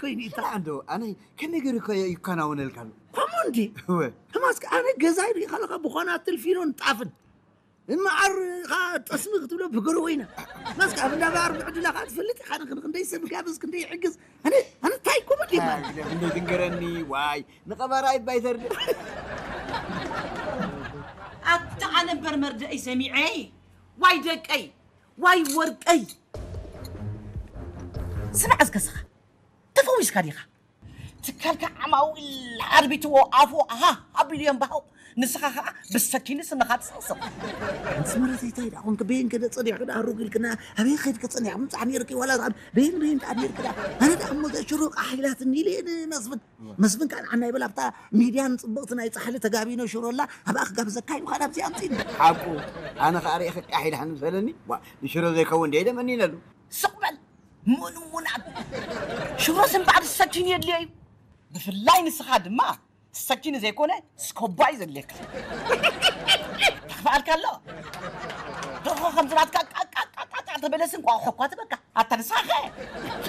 ወይኒ፣ ጥራሕ እንዶ ኣነ ከመይ ገይሩ ከ ይከናወነልካ ኣሎ? ከምኡ እንዲ? እወ። ሕማስከ ኣነ ገዛይ ርኢ ከለኻ ብኾና ትልፊኖን ጣፍን። እምዓር ኻ ጠስሚ ክትብሎ ብገሮ ወይና። ማስከ ኣብ እንዳባር ብዕድላ ኻ ትፈልጥ ኢኻ፣ ንኽን ክንደይ ሰብ ጋብዝ፣ ክንደይ ይሕግዝ። ኣነ ኣነ እንታይ ኮመዲ ይባል? ግደፍ እንዶ ትንገረኒ። ዋይ፣ ንቐባራ ይባይ ተርድ። ኣታ ኣነ እምበር መርደእይ ሰሚዐ። ዋይ ደቀይ፣ ዋይ ወርቀይ። ስማዕ እስከ ስኻ፣ ተፈዊስካ ዲኻ? ትካልካ ዓማዊል ኣርቢትዎ ኣፉ ኣሃ ኣቢሉ የንባሃው። ንስኻ ኸዓ ብሰኪኒ ስንኻ ትስቕስቕ። ኣንስ መረተይ እንታይ ደኣ ኮንክ? በየን ከደ ጸኒሕክ ደኣ ሩግ ኢልክና? ኣበይ ኸይድክ ጸኒሕክ ምጻሕ ነይርኪ? ዋላ ደኣ በየን በየን ደኣ ነይርክ ደኣ? ኣነ ደኣ እሞ እዛ ሽሮ ቃሕ ኢላትኒ ኢለ እየ ንመስፍን። መስፍን ከኣ ንዓና ይበል ኣብታ ሚድያን ጽብቕቲ ናይ ጻሕሊ ተጋቢኖ ሽሮ ኣላ ኣብኣ ክጋብዘካ ኢሉ ከኣ ናብዚ ኣምጺእኒ። ሓቁ፣ ኣነ ኸዓ ርእየ ቃሕ ኢልሃኒ ምሰለኒ። ዋ፣ ንሽሮ ዘይከውን ድየ ደመኒነሉ። ስቕ በል። ምንውናት ሽሮስ እምበኣር ሰኪን የድልዮ እዩ። ብፍላይ ንስኻ ድማ ሰኪን ዘይኮነ ስኮባ እዩ ዘድልየካ። ተኽፍኣልካ ኣሎ። ደርሆ ከምዚ ናትካ ቃቃቃቃቃ ተበለስ እንቋቑሖ እኳ ትበካ። ኣታ ንስኻ ኸ?